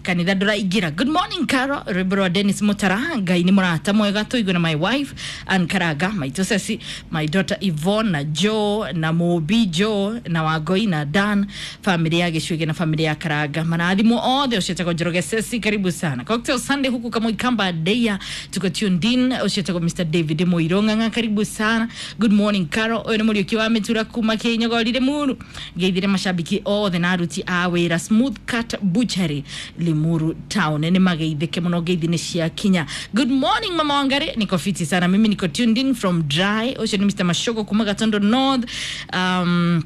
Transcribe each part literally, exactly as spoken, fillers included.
Kanitha ndũraingĩra. Good morning Caro, rwĩmbo rwa Dennis Mutara, Ngai nĩ mũrata mwega, tũigue na my wife Ann Karanga, maitũ Ceci, my daughter Yvonne na Joe na Mũmbi Joe na Wangoi na Dan, family ya Gĩcuĩge na family ya Karanga, marathimwo othe. Ũcio etagwo Njoroge Ceci, karibu sana Cocktail Sunday huku kama Ikamba Deya, tuko tuned in. Ũcio etagwo Mister David Mũirũ Ng'ang'a, karibu sana. Good morning Caro, ũyũ nĩ Mũriũki wa Mĩtura kuma Kĩnyogorire Muru, ngeithire mashabiki othe na aruti a wĩra Smooth Cut Butchery Limuru Town, nĩ mageithĩke mũno, ngeithi nĩ ciakinya. Good morning Mama Wangari, niko fiti sana mimi, niko tuned in from dry. Ũcio nĩ Mister Mashogo kuma Gatondo North. um,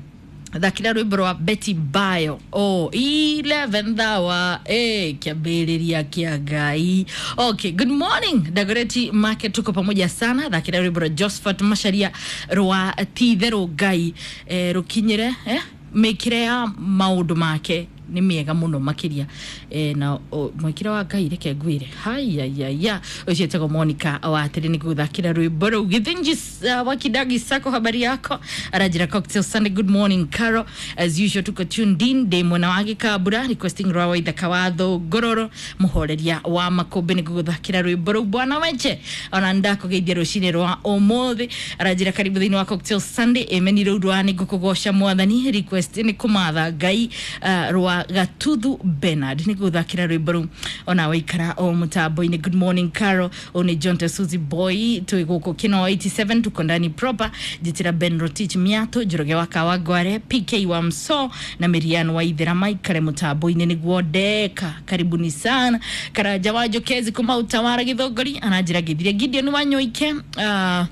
thakira rwĩmbo rwa Betty Bayo, oh, eleventh hour, eh, kĩambĩrĩria kĩa Ngai. Okay, good morning Dagoretti Market, tuko pamoja sana. Thakira rwĩmbo rwa Josephat Macharia rwa titherũ Ngai, eh, rũkinyĩre eh, mĩkĩre ya maũndũ make nĩ mĩega mũno makĩria, e, na o, mwĩkĩre wa Ngai reke ngwĩre hayayaya. Ũcio etagwo Monica wa atĩrĩ nĩ gũthakĩra rwĩmbo rũu. Gĩthĩnji uh, wa Kidagi Sako, habari yako? Aranjĩra Cocktail Sunday, good morning Caro, as usual tuko tuned in, ndĩ mwena wa Gĩkambura, requesting rwa Waithaka wa Thũngũrũrũ mũhoreria wa makũmbĩ, nĩ gũthakĩra rwĩmbo rũu. Bwana Weche, ona ndakũgeithia rũcinĩ rwa ũmũthĩ, aranjĩra karibu thĩinĩ wa Cocktail Sunday. Emeni rũu rwa nĩ ngũkũgoca mwathani, request nĩ kũmatha Ngai, uh, rwa Gatuthu Bernard, nĩ gũthakĩra rwĩmbo rũu ona waikara o mũtambo-inĩ. Good morning Caro, ũyũ nĩ John Tesuzi Boy, twĩ gũkũ Kino eighty-seven, tuko ndani proper. Njĩtĩra Ben Rotich Miato, Njoroge wa Kawangware, P K wa Mso na Mirian wa Ithera maikare mũtambo-inĩ nĩguo ndeka, karibuni sana. Karanja wa Njokezi kuma Utawara Githongori ananjĩra ngĩthire Gideon wa Nyoike, uh,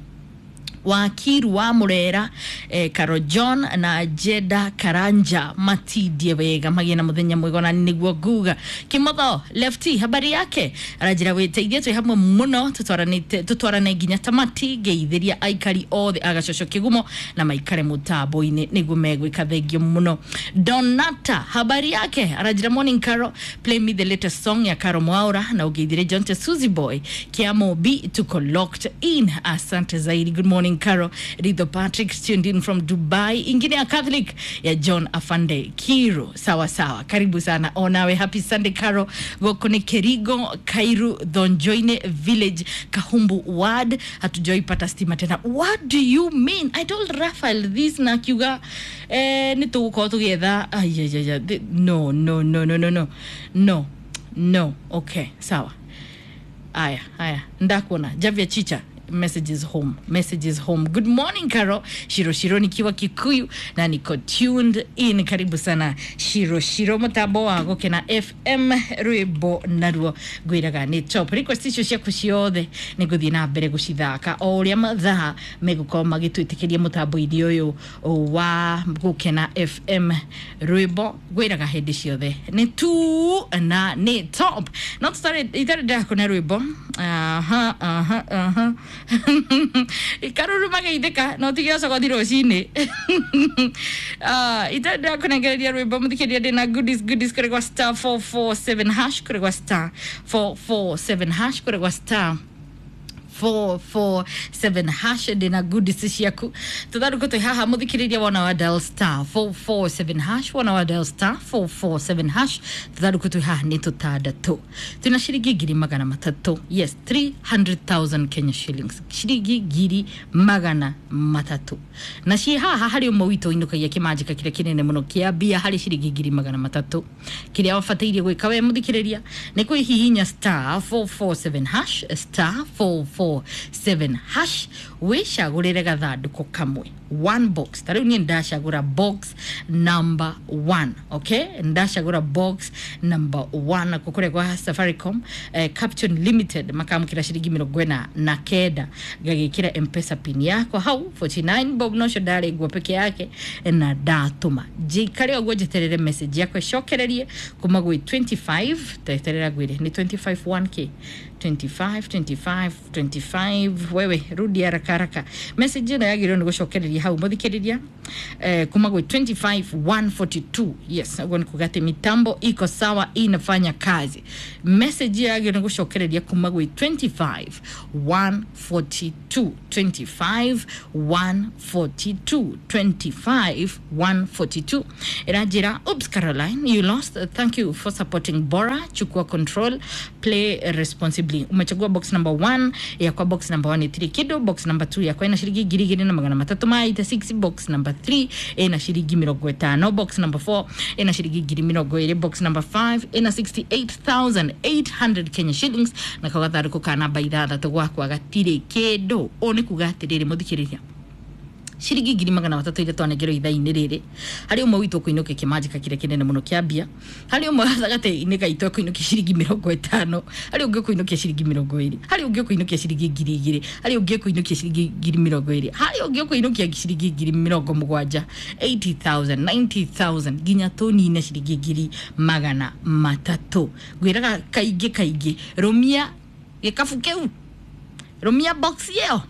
Wakiru wa Murera, eh, Caro John na Jeda Karanja matindie wega, magĩe na mũthenya mwega, na nĩguo nguga. Kimotho Lefty, habari yake? Aranjĩra wĩteithie, twĩ hamwe mũno, tũtwaranĩte tũtwarane nginya tamati. Ngeithĩria aikari othe a Gacoco Kĩgumo na maikare mũtambo-inĩ nĩguo megwĩka, thengio mũno. Donata, habari yake? Aranjĩra morning Caro, play me the latest song ya Caro Mwaura na ũngeithĩrie John Suzy Boy Kiamobi, tuko locked in, asante zaidi. Good morning Caro, Ritho Patrick tuned in from Dubai, ingine ya Catholic ya John Afande Kiro, sawa sawa, karibu sana onawe. Happy Sunday Caro, gũkũ nĩ Kerigo Kairu Thonjoine Village, Kahumbu Ward, hatujaipata stima tena. What do you mean? I told Raphael this na akiuga eh, nĩ tũgũkorwo tũgĩetha. Ayayaya, no no no no no no no no, okay, sawa, aya aya, ndakuona Javia Chicha. Messages home, messages home. Good morning Caro, Shiro Shiro nikiwa Kikuyu na niko tuned in, karibu sana Shiro Shiro, mutambo wa Gukena F M, rwimbo naruo ngwiraga nĩ top. Request icio ciaku ciothe nĩ ngũthiĩ na mbere gũcithaka o ũrĩa mathaa megũkorwo magĩtwĩtĩkĩria mũtambo-inĩ ũyũ wa Gukena F M. Rwimbo ngwĩraga hĩndĩ ciothe nĩ tu na nĩ top, no tũtarĩ itarĩ ndakũne rwĩmbo. Aha aha aha, karuru mageithĩka no tige ũcogothi rũcinĩ. Itarĩ ndakũnengereria rwĩmbo, mũthikĩria, ndĩna goodies, goodies kũrĩ gwa star four four seven hash, kũrĩ gwa star four four seven hash, kũrĩ gwa star four four seven hash, ndĩna goodies ciaku. Tũthandũkũ twĩ haha, mũthikĩrĩria, wona wa dial star four four seven hash, wona wa dial star four four seven hash. Tũthandũkũ twĩ haha nĩ tũtandatũ, twĩna ciringi ngiri magana matatũ, yes, three hundred thousand Kenya shillings, ciringi ngiri magana matatũ, na ciĩ haha harĩ ũmwe witũ inũkagia kĩmanjĩka kĩrĩa kĩnene mũno kĩa mbia harĩ ciringi ngiri magana matatũ. Kĩrĩa wabataire gwĩka we mũthikĩrĩria nĩ kwĩhihinya star four four seven hash, star four four seven hash, wĩcagũrĩre gathandũkũ kamwe, one box. Ta rĩu niĩ ndacagũra box number one, okay, ndacagũra box number one nakuo kũrĩa gwa Safaricom, eh, Caption Limited makamũkĩra ciringi mĩrongo ĩna na kenda, ngagĩkĩra M-Pesa pin yakwa hau forty-nine bob, nocio ndarĩ nguo peke yake na ndatũma. Njikare ũguo njeterere message yakwa ĩcokererie kuma gwĩ twenty-five, teterera ngwĩre nĩ twenty-five one k, twenty-five twenty-five twenty-five. Wewe rudi haraka. haraka haraka. Message ĩno yagĩrĩirwo nĩ gũcokereria hau, mũthikĩrĩria, eh, kuma gwĩ twenty-five one forty-two. Yes, ũguo nĩ kuga atĩ mitambo iko sawa, inafanya kazi. Message yagĩrĩirwo nĩ gũcokereria kuma gwĩ twenty-five one forty-two, twenty-five one forty-two, twenty-five one forty-two. Ĩranjĩra, "Oops, Caroline, you lost. Thank you for supporting Bora. Chukua control, play responsibly." Umechagua box number one. Yakwa box number one ĩtirĩ kĩndũ. Box number two yakwa ĩna ciringi ngiri igĩrĩ na magana matatũ ma eighty-six. Box number three ĩna ciringi mĩrongo ĩtano. Box number four ĩna ciringi ngiri mĩrongo ĩrĩ. Box number five ĩna sixty-eight thousand eight hundred Kenya shillings. Na kau gathandũkũ ka namba ithathatũ gwakwa gatirĩ kĩndũ. Ũũ nĩ kuga atĩrĩrĩ, mũthikĩrĩria, ciringi ngiri magana matatũ iria twanengerwo ithaa-inĩ rĩrĩ, harĩ ũmwe witũ ũkũinũkia kĩmanjĩka kĩrĩa kĩnene mũno kĩa mbia, harĩ ũmwe gatagatĩ-inĩ gaitũ ekũinũkia ciringi mĩrongo ĩtano, harĩ ũngĩ ũkũinũkia ciringi mĩrongo ĩrĩ, harĩ ũngĩ ũkũinũkia ciringi ngiri igĩrĩ, harĩ ũngĩ ũkũinũkia ciringi ngiri mĩrongo ĩrĩ, harĩ ũngĩ ũkũinũkia ciringi ngiri mĩrongo mũgwanja, eighty thousand, ninety thousand, nginya tũnine ciringi ngiri magana matatũ. Ngwĩraga kaingĩ kaingĩ, rũmia gĩkabu kĩu, rũmia box ĩyo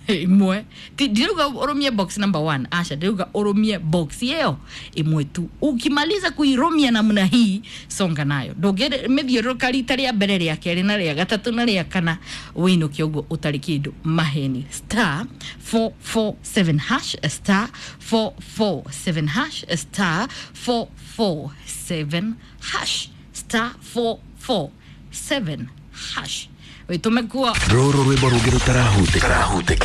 ĩmwe. Ti- ndirauga ũrũmie box number one, aca, ndirauga ũrũmie box ĩyo ĩmwe tu. Ukimaliza kuirũmia namna hii, songa nayo, ndũngĩmĩthiũrũrũka rita rĩa mbere, rĩa kerĩ, na rĩa gatatũ, na rĩa kana, wĩinũke ũguo ũtarĩ kĩndũ. Maheni. Star four four seven hash, star four four seven hash, star four four seven hash, star four four seven hash, wĩtũme kuo. Rũrũ rwĩmbo rũngĩ rũtarahutĩka.